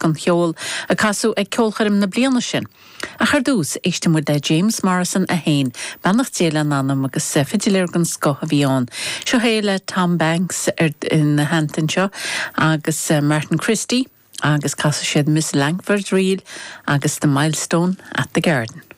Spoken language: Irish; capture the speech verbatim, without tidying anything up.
den cheol a casadh ag ceolchoirm na bliana sin. Ach ar dtús éistfidh muid le James Morrison é féin, beannacht Dé lena anam agus fidiléir den scoth a bhí ann. Seo é le Tom Banks ar ina theannta seo agus Martin Christie agus casfaidh siad Miss Langford Reel agus the Milestone at the Garden.